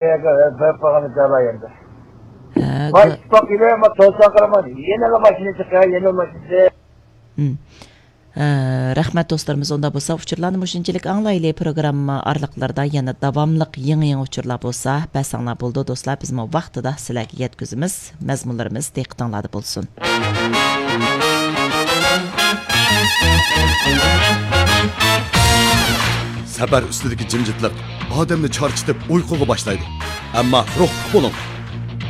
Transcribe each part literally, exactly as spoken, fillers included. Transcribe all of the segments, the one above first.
بېرىپ قالغان ئىدىيەلەر ئەمدى. ھە، ۋاي، گۇ- ئىتتىپاق ئېلى، ما، توسان قارىما، يەنىلا ماشىنا چىقىدۇ، يەنىلا ماشىنا چىقىدۇ. ھە، رەھمەت دوستلىرىمىز، ئۇنداق بولسا ئۇچۇرلارنى مۇشۇنچىلىك ئاڭلايلى. پروگرامما ئارىلىقلىرىدا يەنە داۋاملىق يېڭى-يېڭى ئۇچۇرلار بولسا بەرسەڭلار بولىدۇ دوستلار، بىزمۇ ۋاقتىدا سىلەرگە يەتكۈزىمىز. مەزمۇنلىرىمىز دىققىتىڭلاردا بولسۇن. سەپەر ئۈستىدىكى جىمجىتلىق ئادەمنى چارچىتىپ ئۇيقۇغا باشلايدۇ. ئەمما روھلۇق بولۇڭ.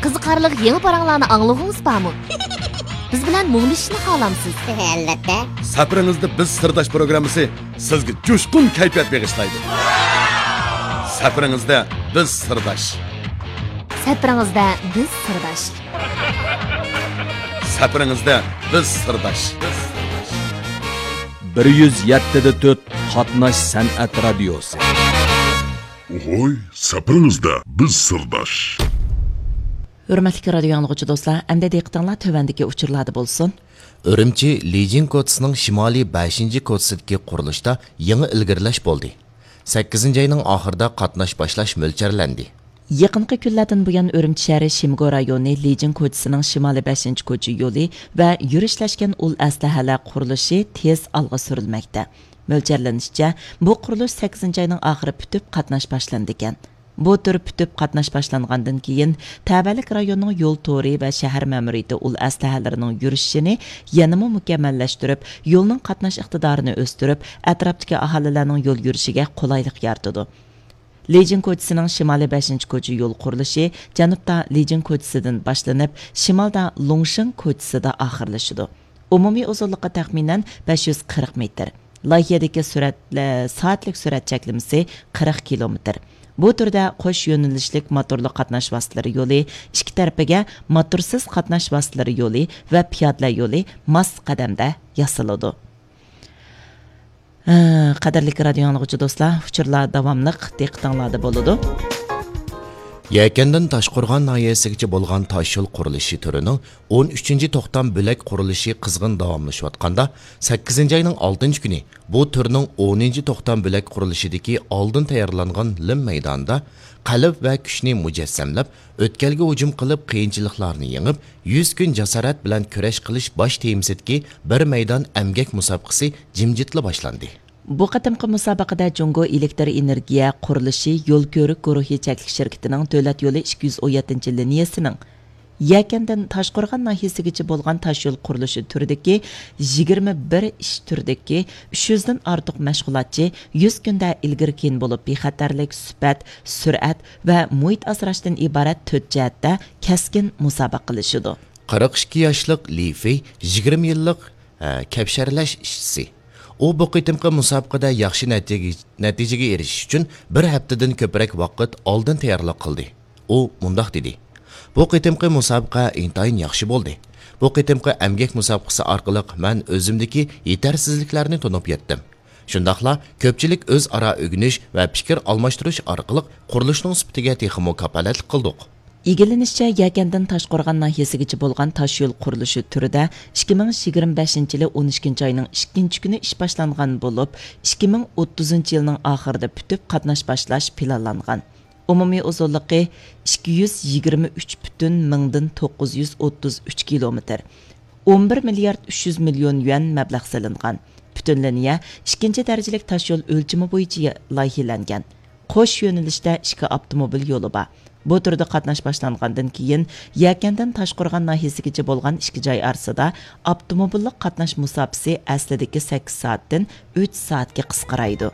قىزىقارلىق يېڭى پاراڭلارنى ئاڭلىغۇڭىز بارمۇ؟ بىز بىلەن مۇڭدىشىشنى خالامسىز؟ ئەلۋەتتە. سەپىرىڭىزدە بىز سىرداش پروگراممىسى سىزگە جۇشقۇن كەيپىيات بېغىشلايدۇ. سەپىرىڭىزدە بىز سىرداش. سەپىرىڭىزدە بىز سىرداش. سەپىرىڭىزدە بىز سىرداش. بىر يۈز يەتتە دە تۆت قاتناش سەنئەت رادىيوسى. ئوھوي، سەپىرىڭىزدە بىز سىرداش. ھۆرمەتلىك رادىيو ئاڭلىغۇچى دوستلار، ئەمدى دىققىتىڭلار تۆۋەندىكى ئۇچۇرلاردا بولسۇن. ئۈرۈمچى لىجىڭ كوچىسىنىڭ شىمالىي بەشىنچى كوچىسىدىكى قۇرۇلۇشتا يېڭى ئىلگىرىلەش بولدى. سەككىزىنچى ئاينىڭ ئاخىرىدا قاتناش باشلاش مۆلچەرلەندى. يېقىنقى كۈنلەردىن بۇيان، ئۈرۈمچى شەھىرى شىمگو رايونى لىجىڭ كوچىسىنىڭ شىمالىي بەشىنچى كوچا يولى ۋە يۈرۈشلەشكەن ئۇل ئەسلىھەلەر قۇرۇلۇشى تېز ئالغا سۈرۈلمەكتە. مۆلچەرلىنىشىچە، بۇ قۇرۇلۇش سەككىزىنچى ئاينىڭ ئاخىرى پۈتۈپ، قاتناش باشلىنىدىكەن. بۇ تۈر پۈتۈپ قاتناش باشلانغاندىن كېيىن، تەۋەلىك رايوننىڭ يول تورى ۋە شەھەر مەمۇرىيىتى ئۇل ئەسلىھەلىرىنىڭ يۈرۈشۈشىنى يەنىمۇ مۇكەممەللەشتۈرۈپ، يولنىڭ قاتناش ئىقتىدارىنى ئۆستۈرۈپ، ئەتراپتىكى ئاھالىلەرنىڭ يول يۈرۈشىگە قولايلىق يارىتىدۇ. لىجىڭ كوچىسىنىڭ شىمالىي بەشىنچى كوچا يول قۇرۇلۇشى جەنۇبتا لىجىڭ كوچىسىدىن باشلىنىپ، شىمالدا لۇڭشېڭ كوچىسىدا ئاخىرلىشىدۇ. ئومۇمىي ئۇزۇنلۇقى تەخمىنەن بەش يۈز قىرىق مېتىر. لايىھەدىكى سۈرئەت، سائەتلىك سۈرئەت چەكلىمىسى قىرىق كىلومېتىر. بۇ تۈردە قوش يۆنىلىشلىك موتورلۇق قاتناش ۋاسىتىلىرى يولى، ئىككى تەرىپىگە موتورسىز قاتناش ۋاسىتىلىرى يولى ۋە پىيادىلەر يولى ماس قەدەمدە ياسىلىدۇ. ھە، قەدىرلىك رادىيو ئاڭلىغۇچى دوستلار، ئۇچۇرلار داۋاملىق دىققىتىڭلاردا بولىدۇ. يەكەندىن تاشقورغان ناھىيەسىگىچە بولغان تاشيول قۇرۇلۇشى تۈرىنىڭ ئون ئۈچىنچى توختام بۆلەك قۇرۇلۇشى قىزغىن داۋاملىشىۋاتقاندا، سەككىزىنچى ئاينىڭ ئالتىنچى كۈنى بۇ تۈرنىڭ ئونىنچى توختام بۆلەك قۇرۇلۇشىدىكى ئالدىن تەييارلانغان لىم مەيدانىدا قەلب ۋە كۈچنى مۇجەسسەملەپ، ئۆتكەلگە ھۇجۇم قىلىپ، قىيىنچىلىقلارنى يېڭىپ، يۈز كۈن جاسارەت بىلەن كۈرەش قىلىش باش تېمىسىدىكى بىر مەيدان ئەمگەك مۇسابىقىسى جىمجىتلا باشلاندى. بۇ قېتىمقى مۇسابىقىدە جۇڭگو ئېلېكتر ئېنېرگىيە قۇرۇلۇشى يول كۆۋرۈك گۇرۇھى چەكلىك شىركىتىنىڭ دۆلەت يولى ئىككى يۈز ئون يەتتىنچى لىنىيەسىنىڭ يەكەندىن تاشقورغان ناھىيەسىگىچە بولغان تاشيول قۇرۇلۇشى تۈرىدىكى يىگىرمە بىر ئىش تۈرىدىكى ئۈچ يۈزدىن ئارتۇق مەشغۇلاتچى يۈز كۈندە ئىلگىرى كېيىن بولۇپ، بىخەتەرلىك، سۈپەت، سۈرئەت ۋە مۇھىت ئاسراشتىن ئىبارەت تۆت جەھەتتە كەسكىن مۇسابىقىلىشىدۇ. قىرىق ئىككى ياشلىق لى فېي يىگىرمە يىللىق، ئە، كەپشەرلەش ئىشچىسى. ئۇ بۇ قېتىمقى مۇسابىقىدە ياخشى نەتىجە-، نەتىجىگە ئېرىشىش ئۈچۈن بىر ھەپتىدىن كۆپرەك ۋاقىت ئالدىن تەييارلىق قىلدى. ئۇ مۇنداق دېدى: «بۇ قېتىمقى مۇسابىقە ئىنتايىن ياخشى بولدى. بۇ قېتىمقى ئەمگەك مۇسابىقىسى ئارقىلىق مەن ئۆزۈمدىكى يېتەرسىزلىكلەرنى تونۇپ يەتتىم. شۇنداقلا كۆپچىلىك ئۆزئارا ئۆگىنىش ۋە پىكىر ئالماشتۇرۇش ئارقىلىق قۇرۇلۇشنىڭ سۈپىتىگە تېخىمۇ كاپالەتلىك قىلدۇق.» ئىگىلىنىشىچە، يەكەندىن تاشقورغان ناھىيەسىگىچە بولغان تاشيول قۇرۇلۇشى تۈرىدە ئىككى مىڭ يىگىرمە بەشىنچى يىلى ئون ئىككىنچى ئاينىڭ ئىككىنچى كۈنى ئىش باشلانغان بولۇپ، ئىككى مىڭ ئوتتۇزىنچى يىلنىڭ ئاخىرىدا پۈتۈپ قاتناش باشلاش پىلانلانغان. ئومۇمىي ئۇزۇنلۇقى ئىككى يۈز يىگىرمە ئۈچ پۈتۈن مىڭدىن توققۇز يۈز ئوتتۇز ئۈچ كىلومېتىر. ئون بىر مىليارد ئۈچ يۈز مىليون يۈەن مەبلەغ سېلىنغان. پۈتۈن لىنىيە ئىككىنچى دەرىجىلىك تاشيول ئۆلچىمى بويىچە لايىھىلەنگەن. قوش يۆنىلىشتە ئىككى ئاپتوموبىل يولى بار. بۇ تۈردە قاتناش باشلانغاندىن كېيىن، يەكەندىن تاشقورغان ناھىيەسىگىچە بولغان ئىككى جاي ئارىسىدا ئاپتوموبىللىق قاتناش مۇساپىسى ئەسلىدىكى سەككىز سائەتتىن ئۈچ سائەتكە قىسقىرايدۇ.